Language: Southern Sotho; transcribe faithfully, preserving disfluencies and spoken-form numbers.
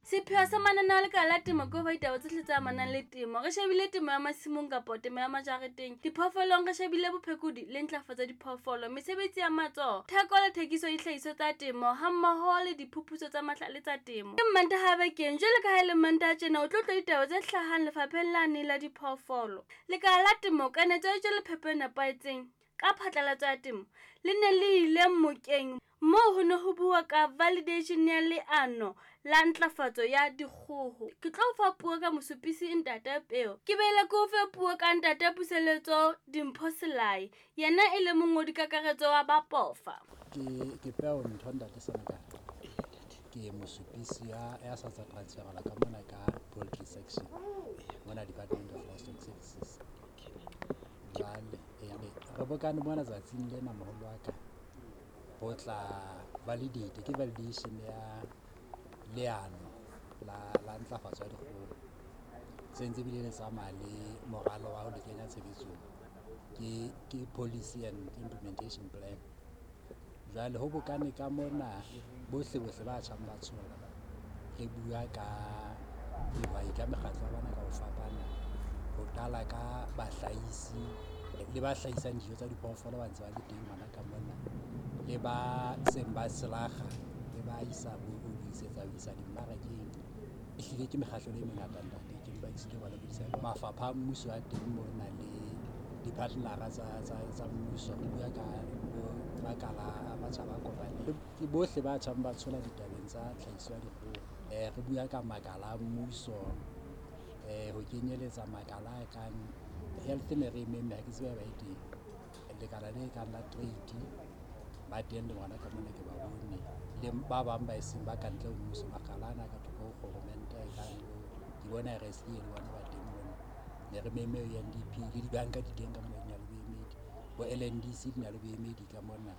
Sepheo sa mananeo a lekala la temo ke ho fa ditaba tsohle tse amanang le temo. Re shebile temo ya masimong kapo temo ya majareteng. Diphoofolong re shebile bophekodi le ntlafatso ya diphoofolo, mesebetsi ya matsoho, theko le thekiso ya dihlahiswa tsa temo hammoho le diphuputso tsa mahlale tsa temo. Ke Mmantaha bekeng jwalo ka ha e le Mmantaha tjena o tlo utlwa ditaba tse hlahang lefapheng lane la diphoofolo. Lekala la temo kanetso ya dijo le phepo e nepahetseng ka phatlalatso ya temo le ne le ile mokeng moo ho ne ho bua ka validation ya leano la ntlafatso ya dikgoho. Ke tlo o fa puo ka mosupisi Ntate Peo. Ke boele ke o fe puo ka Ntate Puseletso Dimpho Selae, yena e le mongodi kakaretso wa Bapofa. Ke ke Peo ntho ntate Senekal. Ke mosupisi ya ya sa tswa transferela ka mona ka poultry section mona Department of Livestock Services. Jwale re bokane mona tsatsing lena moholo wa ka ho tla validate ke validation ya leano la la ntlafatso ya dikgoho. Se ntse bile le tsamaya le moralo wa ho le kenya tshebetsong. Ke ke policy and implementation plan. Jwale ho bokane ka mona bohle bohle ba tjhang ba tshola re bua ka dihwai ka mekgatlo ya bona ka ho fapana. Ho qala ka bahlahisi le ba hlahisang dijo tsa diphoofolo ba ntse ba le teng hona ka mona. Le ba seng ba selakga le ba isa ho isetsa ho isa dimmarakeng. Ehlile ke mekgatlo e mengata ntate ke mpa ke sitwa ho ba lekodisa. Mafapha a mmuso a teng mona le di-partner-a tsa tsa tsa mmuso. Re bua ka bo makala a matjhaba a kopaneng. Ke bohle ba tjhang ba tshola ditabeng tsa tlhahiso ya dikgoho. Re bua ka makala a mmuso ho kenyeletsa makala a kang health ne re e memme ha ke tsebe haeba e teng. Lekala le kang la trade ba teng le bona ka mona ke ba bone. Le ba bang ba eseng ba kantle ho mmuso makala ana ka thoko ho kgoromente a kang bo ke bona R S A le bona ba teng mona. Ne re memme U N D P le dibanka di teng ka mona di na le boemedi. Bo L N D C di na le boemedi ka mona.